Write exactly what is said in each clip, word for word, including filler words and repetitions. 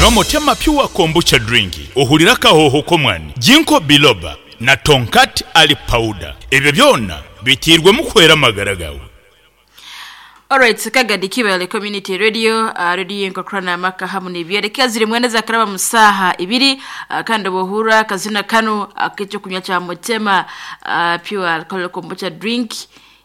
Nywa Motema Pure Kombucha Drink ohurire akahooho k'omwani, Ginkgo Biloba na Tongkat Ali Powder. Ebyo byona biteirwemu kuhwera amagara gaawe. Alright, Kagadi Kibale Community Radio, uh, radio yenkokrana amaka hamu n'ebyereka ziri mwenda zakaraba mu saha ibiri, uh, kandi bohura kazina kano ak'ekyo kunywa kya Motema uh, Pure Alcohol Kombucha Drink.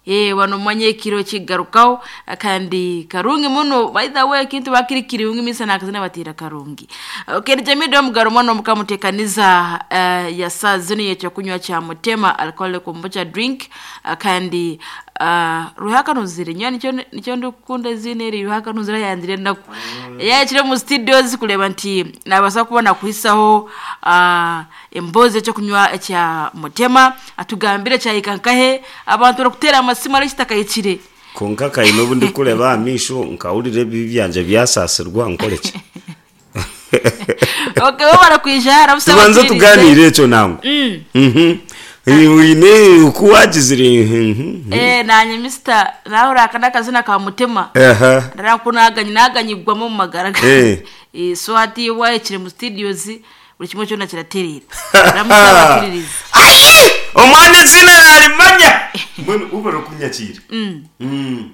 Eh, wano mwanye ekiro kigarukaho, uh, kandi karungi muno. By the way, kintu bakirikiri ungi misa nakazina batira karungi. Okay, jamii mugaro mwana mukamutekaniza uh, ya saa zino yekyo kunywa kya Motema Alcohol Kombucha Drink, uh, kandi uh, ruhaka nuzire nyo nicyo nicyo ndikunda izina eri ruhaka nuzire yandire naku mm. Yakire mu studios kureba nti nabasa kubona kuhisaho uh, emboze cyo kunywa cya Motema atugambire cyayikankahe abantu bakutera amasima ari kitakayikire konka kayino obundi kureba amisho nkawurira ebibi byanje byasasirwa nkoreki. Okay, bo barakwija arabusaba tubanze tuganire ekyo nango. Mm. Mhm. Wine uko wagizire. Eh, nanye mister nawe urakana akazina ka Mutema. Aha. Ndarakunaganye naganyigwamo mu magara. Eh. Eh, so hati wayekire mu studios buri kimwe cyo nakiraterera. Ramusaba. Ayi! Omwana izina narimanya. Mbona ubara kunyakira. Mm. Mm.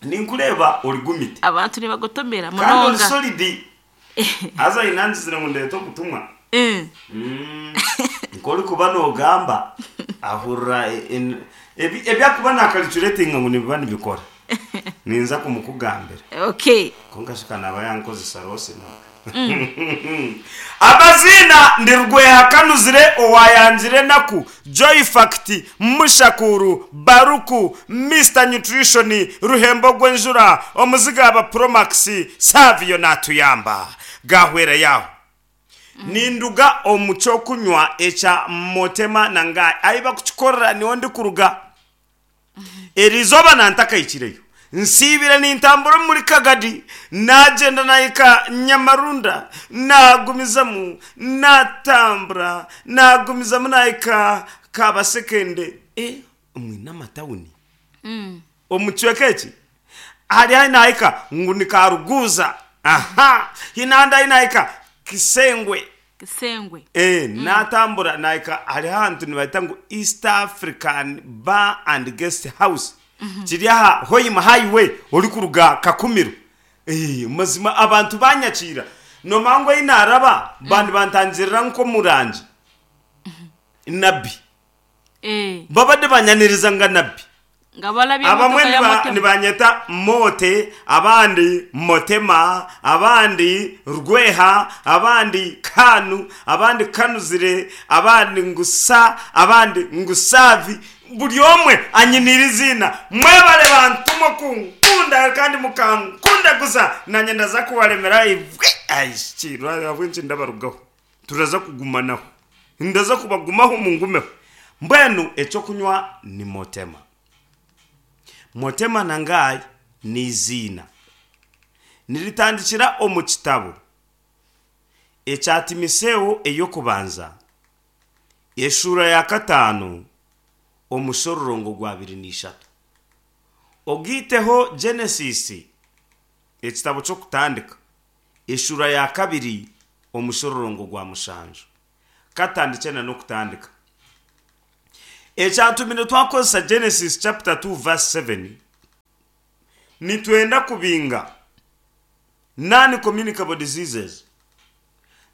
Ninkureba uri gumite. Abantu nibagotomera Kandi uri munonga. solid. Aza inanzizira ngo ndete okutumwa. Eh. Mm. Nkori kuba nogamba ahurra ebyakuba nakalculatinga ngu nibiba nibikora. Ninza kumukugambira. Okay. Konka shika naba yankozesa rose na. Amazina ndi Rweha Kanuzire owayanzire naku Joy Fact Mushakuru Baruku Mister Nutrition Ruhembo Gwenjura omuzigaba Promax Savio natuyamba gahwera yaho. Ninduga omuco kunywa echa Motema nanga ayiba kukikorera niwo ndi kuruga erizoba nantakayikireyo nsibira nintambura muri Kagadi nagenda nayika Nyamarunda nagumizamu natambura nagumizamu nayika Kabasekende eh mwina amatawuni Mm. omucweka eki hari hari nayika ngu ni Karuguza aha hinanda hinayika Kisengwe. Kisengwe. Eh, mm. Natambura naika hari hantu nibaita ngu East African Bar and Guest House. Mm -hmm. Kiri aha Hoima Highway ori kuruga Kakumiro. Eh, mazima abantu banyakira. Nomangwa inaraba mm. Bandi bantangirira nko murangi. Mm -hmm. Nabi. Eh. Babade banyaniriza nga nabi. Ngabalabye abamwe nibanyeta Mote, abandi Motema, abandi Rweha, abandi Kanu, abandi Kanuzire, abandi Ngusa, abandi Ngusavi. Buri omwe anyinira izina. Mwebale bantu mukunkunda kandi mukankunda gusa nanye ndaza kubaremera ivwe. Ayishirwa abwinshi ndabarugaho. Turaza kugumanaho. Ndaza kubagumaho mungumeho. Mbwenu eco kunywa ni Motema. Motema nangayi ni izina niritandikira omu kitabo ekya Timoteyo eyokubanza eshura ya katano omushororongo gwa abiri n'ishatu ogiteho Genesis ekitabo ky'okutandika eshura ya kabiri omushororongo gwa mushanju katandikena n'okutandika. Ekyatumire twakozesa Genesis chapter two verse seven nitwenda kubinga non-communicable diseases.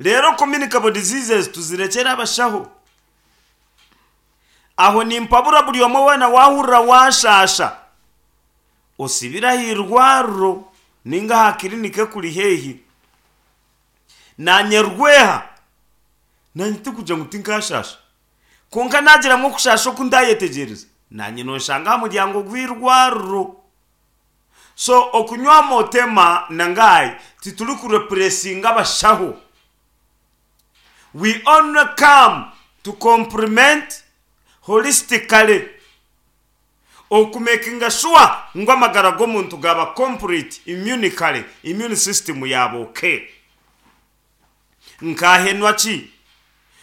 Rero communicable diseases tuzirekera abashaho. Aho nimpabura buri omwe wena wahurira washasha osibira hirwariro ninga ha kirinike kuri hehi nanye Rweha nanye tikuja ngu tinkashasha konka nagira mwo kushasha okundayetegereza nanye noshanga aha muryango gw'irwariro. So okunywa Motema nangayi tituri kurepressinga abashaho. We only come to complement holistically okumakinga sure ngu amagara g'omuntu gaba complete immunically, immune system yaba okay. Nkahenwa ki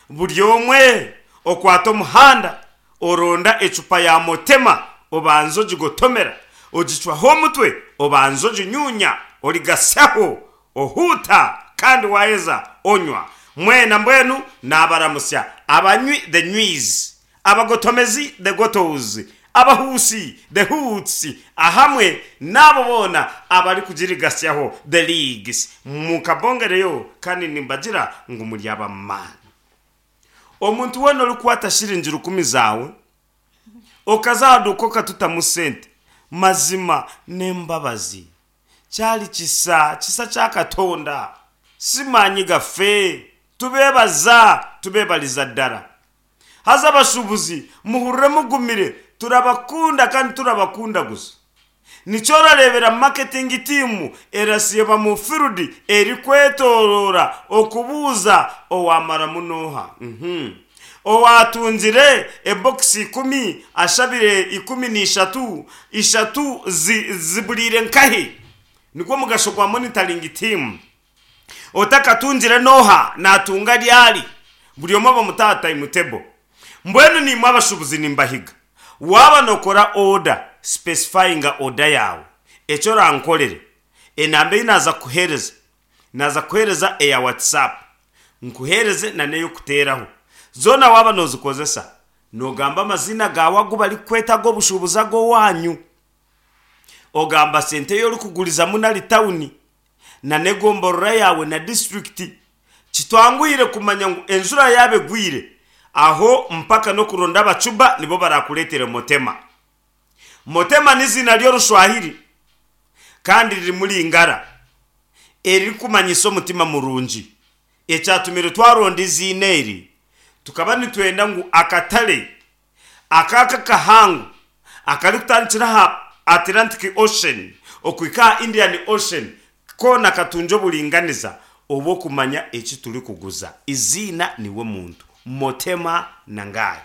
buri omwe okwata omuhanda oronda ecupa ya Motema obanza ogigotomera ogicwaho omutwe obanza oginyunya origasaho ohuta Kandi waheza onywa. Mwena mbwenu nabaramusya abanywi, the nywiz, abagotomezi, the gotos, abahusi, the hoots, ahamwe n'abo boona abari kugirigasyaho, the leagues. Mukabongereyo kandi nimbagira ngu muri abamaani. Omuntu wena orikwata shiringi rukumi zawe okazaduka okatutamu sente, mazima n'embabazi, kyali kisa kisa kya Katonda, simanyi gaffe. Tubebaza, tubebaliza ddala. Haza abashubuzi muhurire mugumire, turabakunda kandi turabakunda gusa. Nikyo orarebera marketing team erasiba mu field eri kwetorora okubuuza owamara munoha. Mhm. Owatungire ebokisi ikumi, ashabire ikumi n'ishatu, ishatu zi- ziburiire nkahe? Nigwo mugasho gwa monitoring team. Otakatungire noha? Natunga ryari? Buri omwe bamutaha timetable. Mbwenu nimwe abashubuzi nimbahiga, waba nokora order, specifyinga order yawe. Ekyo orankorere, enamba ei naza kuhereza, naza kuhereza eya WhatsApp, nkuhereze na n'ey'okuteeraho, zoona waba nozikozesa nogamba amazina gawe agu barikweta ag'obushubuzi ag'owanyu, ogamba sente y'orikugurizamu nari tawuni na n'egomborora yawe na disitulikiti. Kitwanguhire kumanya ngu enjura yaaba egwire aho mpaka n'okuronda abacuba nibo barakureetera motema. Motema n'izina ry'Orushwahiri kandi ririmu ringara eririkumanyisa omutima murungi. Ekyatumire twaronda iziina eri, tukaba nitwenda ngu akatare akaka kahango akarikutandikira aha Atlantic Ocean okuhika aha Indian Ocean koona katunge oburinganiza obw'okumanya eki turikuguza. Iziina niwe muntu, Motema Nangayi.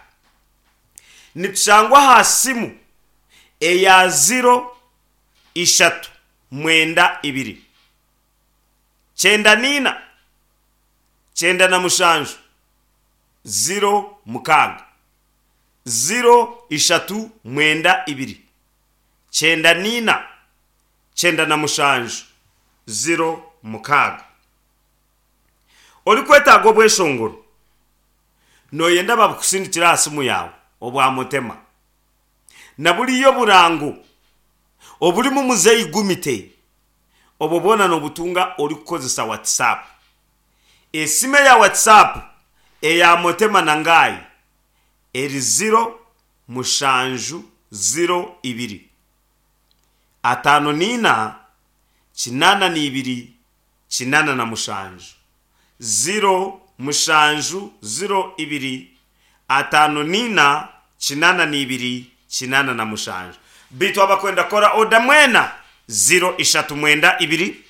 Nitushangwa aha simu eya ziro ishatu mwenda ibiri kyenda niina kyenda na mushanju ziro mukaaga, ziro ishatu mwenda ibiri kyenda niina kyenda na mushanju ziro mukaaga. Orikwetaaga obweshongoro, noyenda babukusindikira aha simu yawe, obwa motema na buriya oburango oburimu muzeyi gumite, obwo bwona nobutunga orikukozesa WhatsApp. Esimu eya WhatsApp eya Motema Nangayi eri ziro mushanju ziro ibiri ataano niina kinaana n'ibiri kinaana na mushanju, ziro mushanju ziro ibiri ataano niina kinaana n'ibiri kinaana na mushanju. Bitu abakwenda kora oda mwena, ziro ishatu mwenda ibiri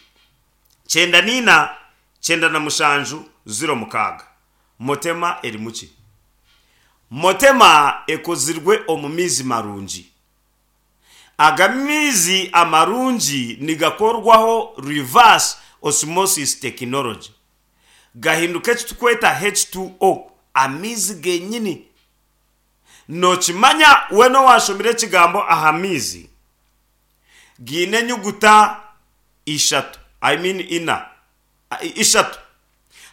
kyenda niina kyenda na mushanju ziro mukaaga. Motema eri muki? Motema ekozirwe omu mizi marungi. Aga mizi amarungi nigakorwaho reverse osmosis technology, gahinduka eki tukweta H two O, amizi genyini. Nokimanya wena owashomire ekigambo aha mizi giine enyuguta ishatu, I mean ina, ishatu.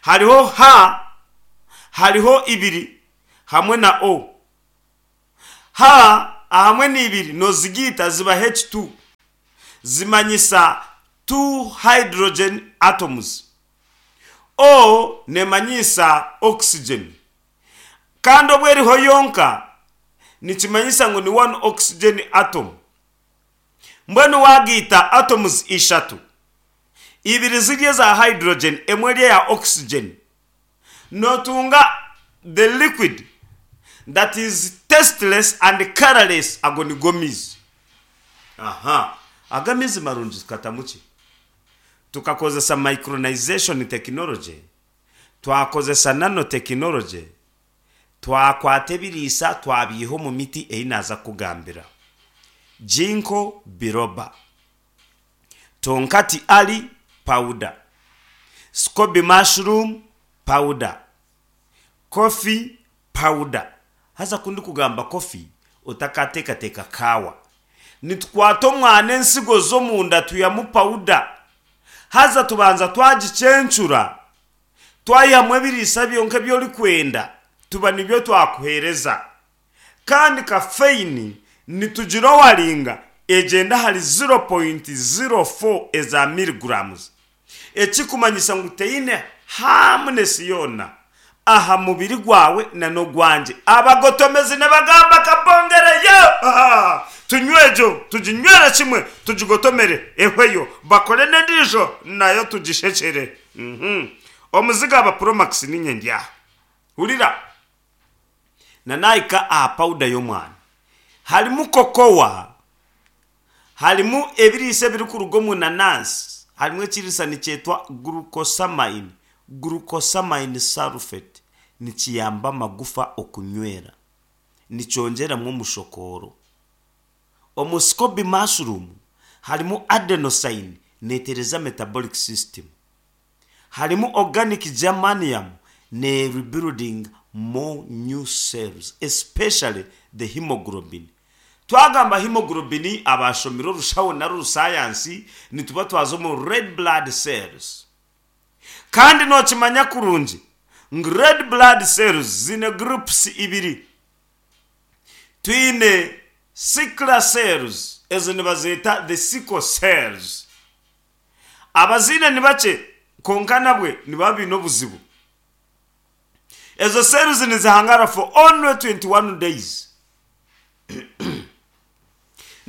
Hariho H, hariho ibiri hamwe na O. H ahamwe n'ibiri nozigiita ziba H two, zimanyisa two hydrogen atoms. O nemanyisa oxygen, kandi obwo eriho yonka nikimanyisa ngu ni one oxygen atom. Mbwenu wagiita atoms ishatu, ibiri ziri eza hydrogen, emwe eri eya oxygen, notunga the liquid that is tasteless and colorless. Ago nigo mizi. Aha, aga mizi marungi tukatamu ki? Tukakozesa micronization technology, twakozesa nanotechnology, twakwata ebiriisa twabiiha omu miti ei naaza kugambira: ginkgo biloba, tongkat ali powder, scoby mushroom powder, coffee powder. Haza kundi kugamba coffee, otakateekateeka kaawa. Nitukwata omwana ensigo z'omunda tuyamu powder. Haza tubanza twagicencura, twayihamu ebiriisa byonka ebyorikwenda, tuba nibyo twakuheereza. Kandi caffeine nitugira owaringa egyenda hari zero point zero four eza milligrams. Ekikumanyisa ngu teine harmness yoona aha mubiri gwawe na n'ogwangye. Abagotomezi nibagamba kabongereyo, tunywejo, tuginywere kimwe, tugigotomere ehweyo, bakore n'endiijo nayo tugishekere. Mhm. Omuziga aba Promax ninye ndyaha. Hurira. Nanayika aha powder y'omwana. Harimu kokowa, harimu ebiriisa ebirikuruga omu nanansi, harimu ekiriisa nikyetwa glucosamine, glucosamine sulfate, nikiyamba amagufa okunywera, nikyongyeramu omushokoro. Omu scoby mushroom harimu adenosine, neetereza metabolic system. Harimu organic germanium, ne rebuilding more new cells, especially the hemoglobin. Twagamba hemoglobin abashomire orushaho nari orusayansi, nituba twaza omu red blood cells. Kandi nokimanya kurungi ngu red blood cells zine groups ibiri. Twine sickle cells, ezo nibazeeta the sickle cells. Abaziine ni bakye, konka nabwe niba biine obuzibu. Ezo cells nizihangara for only twenty-one days.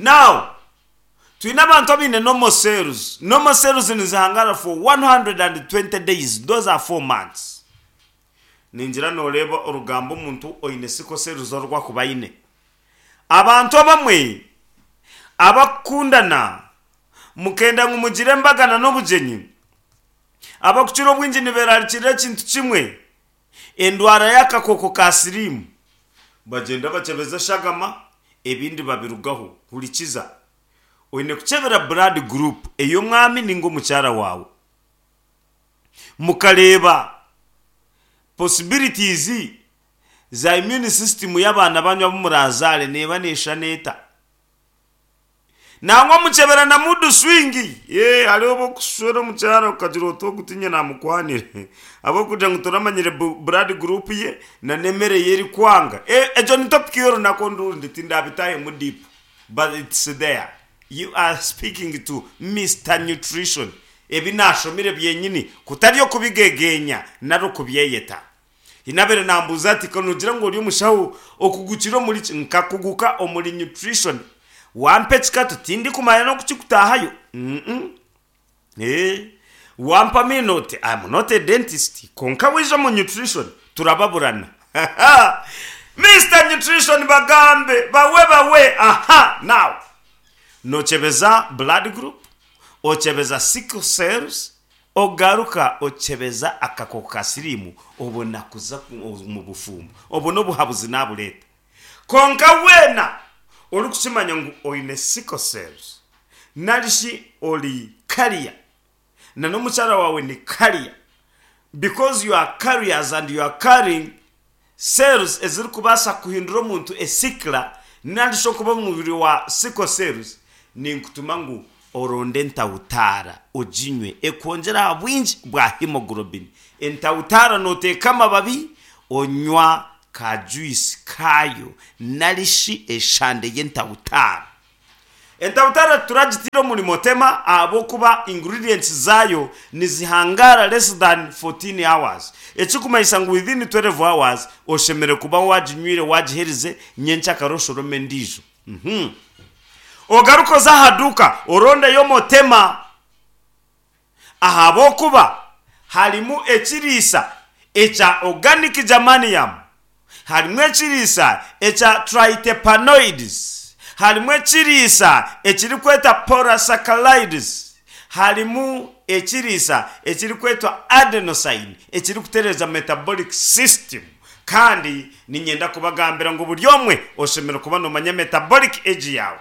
Now, twine abantu abaine normal cells. Normal cells nizihangara for one hundred and twenty days. Those are four months. Ningira noreeba orugambo omuntu oine sickle cells orwakuba aine. Abantu abamwe abakundana mukenda ngu mugire embagana n'obugyenyi, abakukira obwingi niberarikirira ekintu kimwe, endwara y'akakoko ka siriimu. Bagyenda bakyebeza eshagama, ebindi babirugaho. Hurikiza, oine kukyebera blood group ey'omwami ninga omukyara waawe, mukareeba possibilities za immune system y'abaana banyu abu murazaare neeba neeshana eta. Nangwa mukyebera na mood swing. Ye, hariho obukushwera omukyara okagira oti ogutinye namukwanire, ahabw'okugira ngu toramanyire bu-, blood group ye na n'emere ye erikwanga. E, egyo ni topic y'orunaku orundi, tindabitahemu deep, but it's there. You are speaking to Mister Nutrition. Ebi nashomire byenyini, kutari okubigegenya nari okubyeyeta. Inabere nambuza ati konugira ngo ori omushaho okugukira omuri ki? Nkakuguka omuri nutrition. Wampa ekikato tindi kumanya n'okukikutahayo. Mm-mm. Eh, wampa minote, I'm not a dentist. Konka wija mu nutrition turababurana. Mister Nutrition bagambe bawe bawe. Aha, now nochebeza blood group, ochebeza sickle cells, ogaruka ochebeza akakoko ka sirimu, obona kuza mu bufumbo, obona obuhabuzi nabuleta. Konka wena ori kukimanya ngu oine sickle cells, narishi ori carrier, na n'omukyara wawe ni carrier, because you are carriers and you are carrying cells ezirikubaasa kuhindura omuntu esikla, narishi okuba omubiri wa sickle cells, ninkutuma ngu oronde entawutara oginywe, ekwongyera aha bwingi bwa hemoglobin. Entawutara noteeka amababi, onywa ka juice kayo, narishi eshande y'entawutara. Entawutara turagitira omuri motema ahabw'okuba ingredients zayo nizihangara less than fourteen hours. Ekikumanyisa ngu within twelve hours oshemere kuba waginywire, wagiherize, nyenkyakare oshorome endiijo. Mhm. Ogaruka oze aha duka orondeyo motema, ahabw'okuba harimu ekiriisa ekya organic germanium, harimu ekiriisa ekya triterpenoids, harimu ekiriisa ekirikwetwa polysaccharides, harimu ekiriisa ekirikwetwa adenosine ekirikutereeza metabolic system. Kandi ninyenda kubagambira ngu buri omwe oshemereire kuba nomanya metabolic age yawe.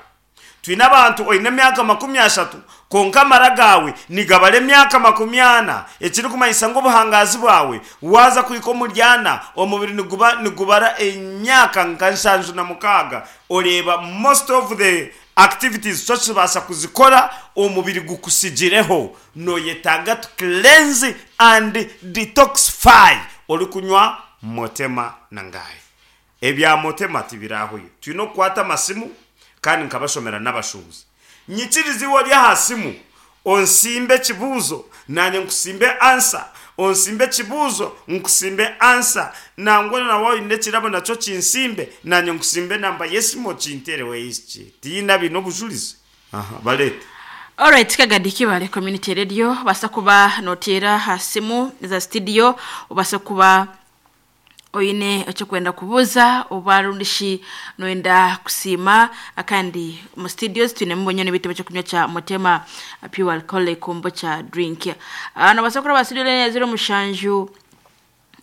Twine abantu oine emyaka makumi ashatu, konka amara gawe nigabara emyaka makumi ana, ekirikumanyisa ngu obuhangazi bwawe waza kuhika omuri ana, omubiri niguba nigubara emyaka nka nshanju na mukaaga. Oreeba most of the Activities tokibasa kuzikora, omubiri gukusigireho. Noyetaaga to cleanse and detoxify orikunywa Motema na Ngai. Ebya Motema tibirahuyo. Twine okukwata amasimu kandi nkabashomera n'abashuubuzi. Nyikiriza iwe ori aha simu, onsimbe ekibuuzo nanye nkusimbe answer, onsimbe ekibuuzo nkusimbe answer, nangwa nawe oine ekirabo nakyo kinsimbe nanye nkusimbe enamba y'esimu okinteereho eyiki. Tihaine abaine obujurizi? Aha, bareete. Alright, Kagadi Kibale Community Radio, basa kuba noteera ha simu za studio, obasa kuba oine ekyokwenda kubuuza oba rundishi noyenda kusiima. Kandi mu studios twinemu bonyene bitabo ekyokunywa kya Mutema Pure Alcoholic Kombucha drink. uh, nobasa kuraba studio ya zero mushanju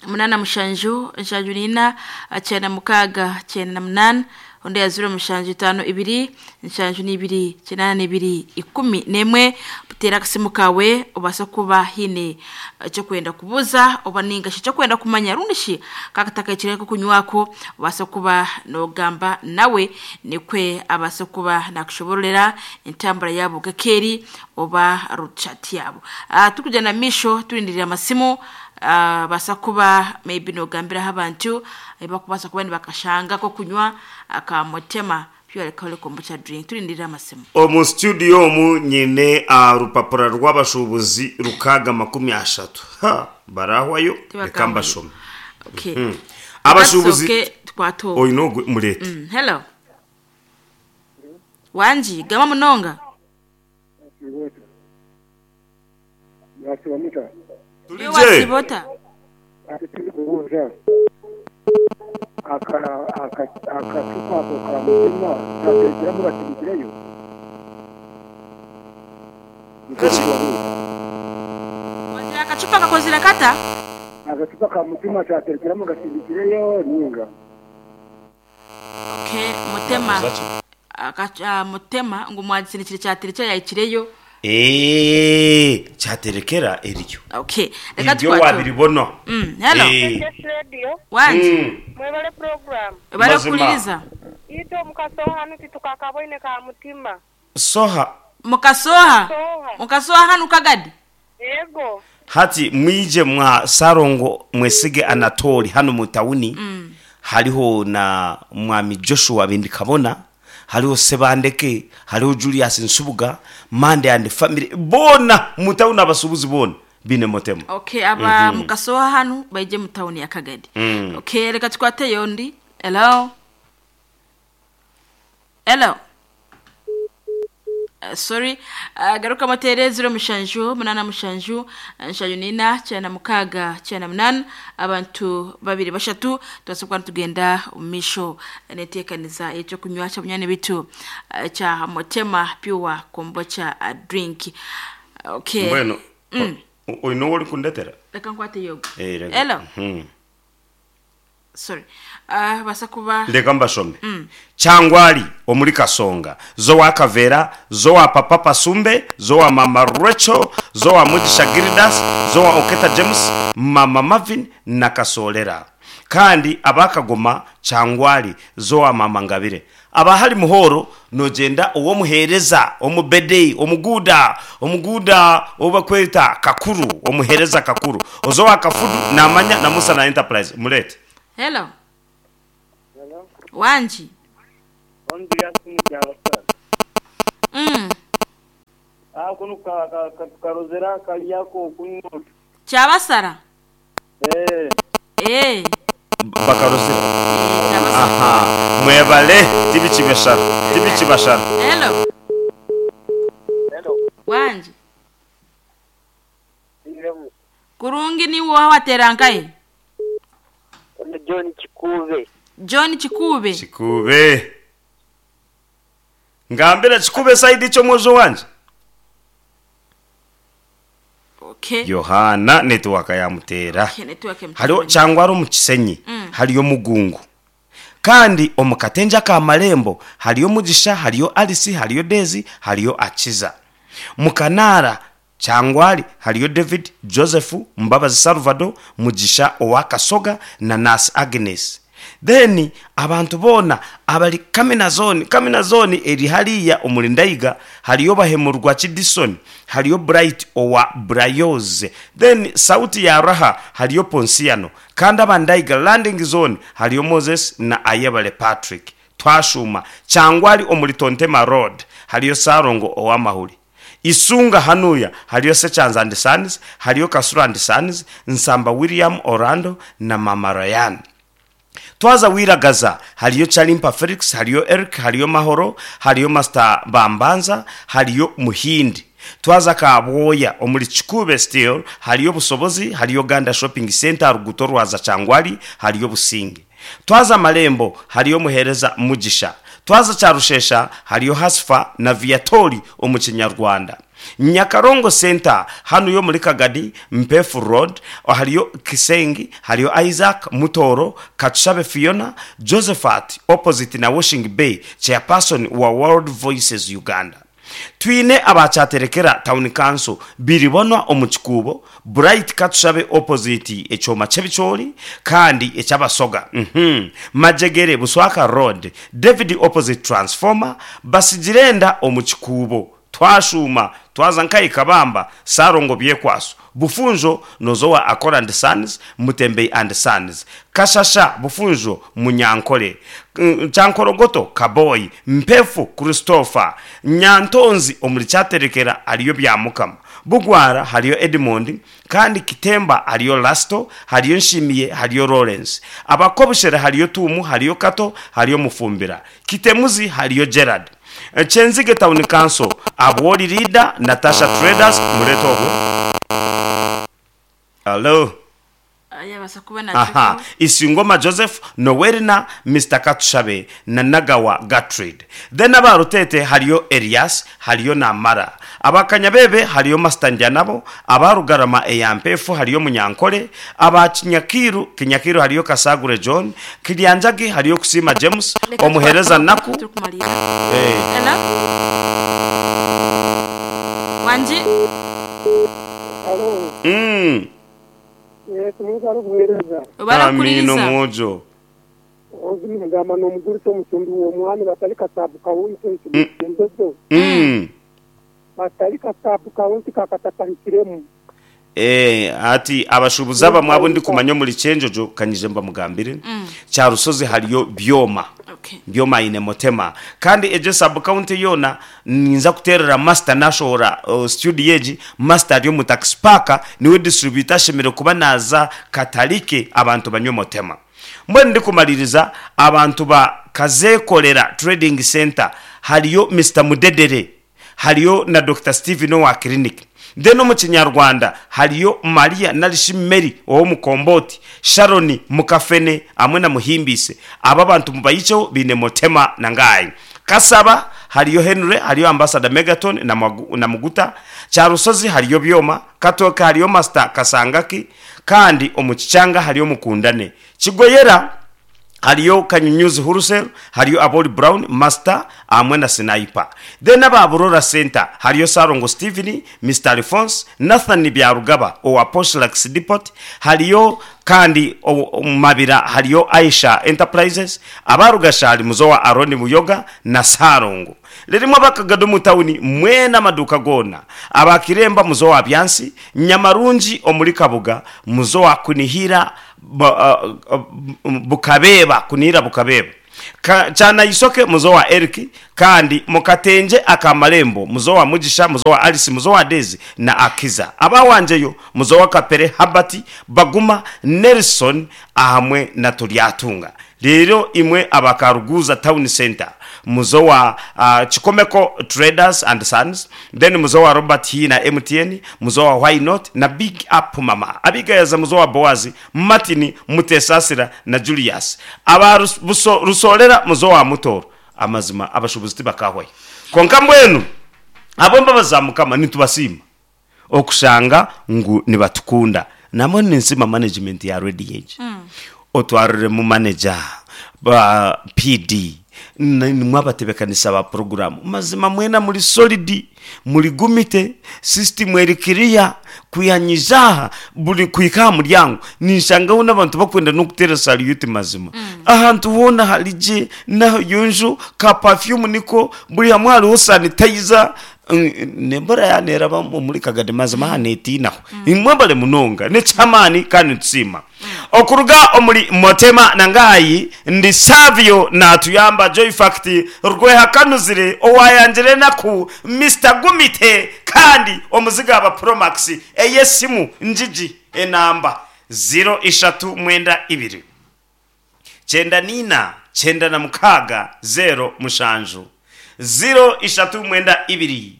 munana mushanju nshanju nina kyenda mukaaga kyenda na munana, ondi ya zero mushanju itano ibiri nshanju n'ibiri kinana n'ibiri ikumi n'emwe. Buteera akasimu kawe obasa kuba hine ekyokwenda kubuuza oba ningashi ekyokwenda kumanya rundishi kakataka ekireko kunywako, obasa kuba nogamba nawe nikwe abasa kuba nakushoborera entambura yabo gakeri oba ruchat yabo. uh, tukujya na misho tulindirira amasimu. uh, basa kuba maybe nogambiraho abantu ebakubasa kuba nibakashanga ko kunywa akamotema Pure Alcoholic Kombucha drink. Tulindirira amasimu. Omu studio omu nyine rupapura rw'abashuubuzi rukaga makumi ashatu. Ha, barahwayo, reka mbashome. Okay. Mm. Abashuubuzi Okay, twato. Oyu n'ogwe mureete. Mm, hello. Wanji, gama munonga. Turi je? Wasibota. Kubuuza akacupa ako ka Mutima kateekeramu bakibikireyo. Wazira akacupa kakozira kata? Akacupa ka Mutima kyaterekeramu gasindikireyo ninga. Okay, Mutema. Akaca Mutema ngo mwagisinikire cyaterekera yayikireyo. Eh, cyaterekera eriyo. Okay, reka Ibyo twato. wabiribona. Mm, hello. Eh. Radio Wanji, Mm. mwebale program bari Mazima. kuliriza. ito mukasoha nuti tukakaboine ka Mutima. Soha. Mukasoha. Soha. Mukasoha hanu Kagadi. Yego. Hati mwije mwa Sarongo mwesige Anatoli hano mu tawuni. Mm. Hariho na mwami Joshua Bindikabona, hariho Sebandeke, hariho Julius Nsubuga, Mande and family bona mu tawuni abasubuzi bona bine Motema. Okay, aba mm -hmm. Mukasoha hanu baije mu tawuni ya Kagadi. Mm. Okay, reka tukwate yondi. Hello. Hello. Uh, sorry. uh, garuka matere zero mushanju munana mushanju nshanju nina cyana mukaga cyana munana, abantu babiri bashatu tubasabwa tugenda umisho netekaniza icyo kunywa cya munyane bitu uh, cya Motema Pure Kombucha uh, drink. Okay. Mbwenu mm. Oyu niwe uri kundetera? Reka nkwate yogo. Eh, reka. Hello. Mhm. Sorry. Uh, basa kuba Ndeka mbashome. Mm. Changwali omuri Kasonga, zo wa Kavera, zo wa Papa Pasumbe, zo wa Mama Rachel, zo wa Mugisha Gildas, zo wa Oketa James, Mama Marvin na Kasolera. Kandi abakagoma Changwali zo wa Mama Ngabire. Abahari muhoro nogenda uwo muhereza omubedei omuguda omuguda obakweta kakuru omuhereza kakuru ozo wa Kafudu namanya na Musa na Enterprise murete. Hello. Wanji. Mm. Ah, kuno ka ka ka karozera kaliyako kunywa. Kyabasara. Eh. Eh. Bakarozera. Eh, kyabasara. Aha, mwebale tibikibashara tibikibashara. Hello. Hello. Wanji. Kurungi ni woha waterankaye. John Chikube. John Chikube. Chikube. Ngambira Chikube saidi icho mwozo wanje. Okay. Yohana network yamutera. Okay, network yamutera. Hariho cyangwa ari mu Kisenyi, mm. Hariyo Mugungu. Kandi omukatenja ka Marembo hariyo Mugisha, hariyo Alice, hariyo Daisy, hariyo Akiza. Mukanara Changwali hariyo David, Joseph, Mbabazi Salvador, Mugisha Owakasoga na Nas Agnes. Then abantu boona abari Kamina Zone, Kamina Zone eri hariya omuri Ndaiga, hariyo Bahemurwa Kidison, hariyo Bright owa Brayoze. Then Sauti ya Raha hariyo Ponsiano, kandi aba Ndaiga Landing Zone hariyo Moses na Ayebale Patrick. Twashuma Kyangwali omuri Tontema Road hariyo Sarongo owamahuri. Isunga hanuya hariyo Sechanza and Sons, hariyo Kasura and Sons, Nsamba William Orlando na Mama Ryan. Twaza Wiragaza hariyo Chalimpa Felix, hariyo Eric, hariyo Mahoro, hariyo Master Bambanza, hariyo Muhindi. Twaza Kabwoya omuri Chikube Steel hariyo Busobozi, hariyo Ganda Shopping Center ruguto rwaza Kyangwali hariyo Businge. Twaza Malembo hariyo Muhereza Mugisha. Twaza Charushesha hariyo Hasfa na Viatori omu Kinyarwanda. Nyakarongo Center hano yo muri Kagadi Mpefu Road hariyo Kisengi, hariyo Isaac Mutoro, Katushabe Fiona, Josephat opposite na Washing Bay, chairperson wa World Voices Uganda. Twine abacyaterekera Town Council biribonwa omu Kikuubo, Bright Katushabe opposite ekyoma ky'ebicoori kandi ekyabasoga. mm Majegere Buswaka Road, David opposite transformer, Basigirenda omu Kikuubo. Twashuma twaza nkayi Kabamba, Sarongo Byekwaso, Bufunjo Nozowa Akora and Sons, Mutembei and Sons, Kashasha Bufunjo Munyankole, Mm, Kyankorogoto Kaboyi, Mpefu Christopher, Nyantonzi omuri Kyaterekera hariyo Byamukama, Bugwara hariyo Edmond, kandi Kitemba hariyo Lasto, hariyo Nshimiye, hariyo Lawrence. Abakobushera hariyo Tumu, hariyo Kato, hariyo Mufumbira. Kitemuzi hariyo Gerard. Kyenzige Town Council, Abwoli Leader, Natasha Traders, mureto ogwe. Hello. Yabasa kuba Aha, nakyo. Isingoma Joseph, Nowerina, Mister Katushabe na Nagawa Gatrid. Then abarutete hariyo Elias, hariyo Namara. Abakanyabebe hariyo Master Njanabo, abarugarama eyampefu hariyo Munyankole, abakinyakiru Kinyakiru hariyo Kasagure John, Kilyanjagi hariyo Kusima James, Reka omuhereza twa- Naku. Turi kumalira. Eh, Hello. Wanji. Alo, mm, yes, Mungu arikuhereza. Obara amino kuriza. mwojo. Ozini mugamba n'omugurisa omutumbi w'omwani batali Kasaabu County embezo Mm. batali Kasaabu County kakatatahikiremu. Eh, ati abashubuzi abamwe abo ndi kumanya omuri Kyenjojo kanyije mbamugambire. Kyarusozi hariyo Byoma. Okay. Byoma ine motema, kandi ejo sub county yona ninza kuterera master nashora uh, studio eji master ari mu taxi park, niwe distributor ashemere kuba naza katalike abantu banywe motema. Mbwe ndi kumaliriza, abantu ba Kazekolera Trading Center hariyo Mister Mudedere, hariyo na Doctor Steven wa clinic. Then no mu Kinyarwanda hariyo Maria na Rishimeri wo mukomboti, Sharon Mukafene amwe na Muhimbise. Aba bantu mubayiceho bine motema na ngayi. Kasaba hariyo Henry, hariyo Ambassador Megaton na, Magu, na Muguta. Kyarusozi hariyo Byoma, Katoka hariyo Master Kasangaki, kandi omu Kicyanga hariyo Mukundane. Kigoyera hariyo Kanyunyuzi Hurusel, hariyo Aboli Brown Master amwe na Sniper. Then ababurora Center hariyo Sarongo Steven, Mister Alphonse, Nathan Byarugaba owa Poshlax Depot, hariyo kandi o- o- Mabira hariyo Aisha Enterprises, abarugashali muzowa Aroni Muyoga na Sarongo. Ririmo abakagado mu tawuni mwena amaduka gona, abakiremba muzowa Byansi, Nyamarungi omuri Kabuga muzowa Kunihira ba, uh, uh, Bukabeba, Kunihira Bukabeba. Ka, cyana isoke muzo wa Eric, kandi mukatenje akamarembo muzo wa Mugisha, muzo wa Alice, muzo wa Daisy na Akiza. Abawanjeyo muzo wa Kapere Habati, Baguma Nelson ahamwe na Turyatunga. Rero imwe abakaruguza Town Center muzo wa uh, Chikomeko Traders and Sons, then muzo wa Robert H na M T N, muzo wa Why Not na Big Up Mama Abigayaza, muzo wa Boazi Martin Mutesasira na Julius. Aba Rus- Buso- Rusolera muzo wa Mutoro. Amazima abashubuzi tibakahwayo, konka mbwenu abo mbabaza Mukama nitubasiima okushanga ngu nibatukunda. Namwe ninsima management ya Radio Age mm. otwarire mu manager ba P D. Nimwe abatebekanisa ba poroguramu. Mazima mwena muri solidi, muri gumite, sisitimu eri kiriya, kwihanyiza aha buri kuhika aha muryango ninshangaho n'abantu bakwenda n'okuteera saliyuti mazima. Ahantu hoona hari gye n'aha ka perfume niko buri hamwe hariho sanitizer. Nembura yaneeraba omuri Kagadi mazima aha neetiinaho. Imwe bari munonga n'eky'amaani kandi nitusiima. Okuruga omuri Motema Nangayi ndi Savio natuyamba Joy Fact rwehakanuzire owayangire enaku Mister Gumite kandi omuziga aba Promax ey'esimu njigi enamba ziro ishatu mwenda ibiri kyenda niina kyenda na mukaaga zero mushanju ziro ishatu mwenda ibiri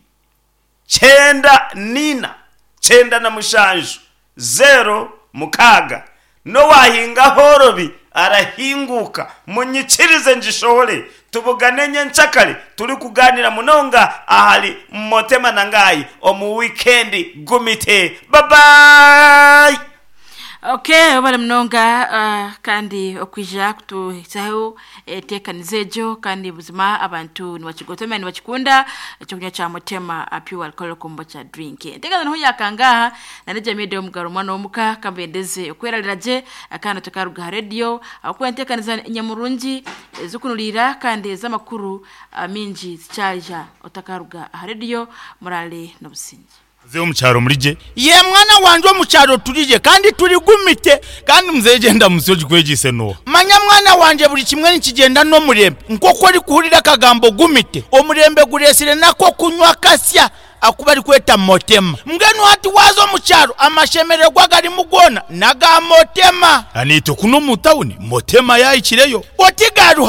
kyenda niina kyenda na mushanju zero mukaaga n'owahinga horobi arahinguka munyikirize ngishohore tubugane nyenkyakare turi kuganira munonga ahari Motema Nangayi omu wikendi gumite. Babayi. Okay, obale munonga uh, kandi okwija kutuhisaho eteekaniza egyo kandi buzima abantu nibakigotoma nibakikunda ekyokunywa kya Mutema uh, pure alcohol kombucha drink. Enteekaza niho yakangaha na nejamide omugaro omwana w'omuka kambendeze okwerarira gye uh, kandi tukaruga ha radio ahakuba enteekaniza nyamurungi ez'okunuriira kandi ez'amakuru uh, mingi zikyarya otakaruga aha radio. Murale n'obusinge. Mzee omukyaro murije. Ye mwana wanje omukyaro turije kandi turi gumite. Kandi mzee genda musoji kwegise no. Manya mwana wanje buri kimwe nikigenda n'omurembe. Nk'oku ori kuhurira akagambo gumite, omurembe guresire nako kunywa kasya akuba ari kweta Motema. Mbwenu hati waza omukyaro amashemererwa garimu goona naga Motema. Anito kuno mu tawuni Motema yayikireyo. Otigaruha.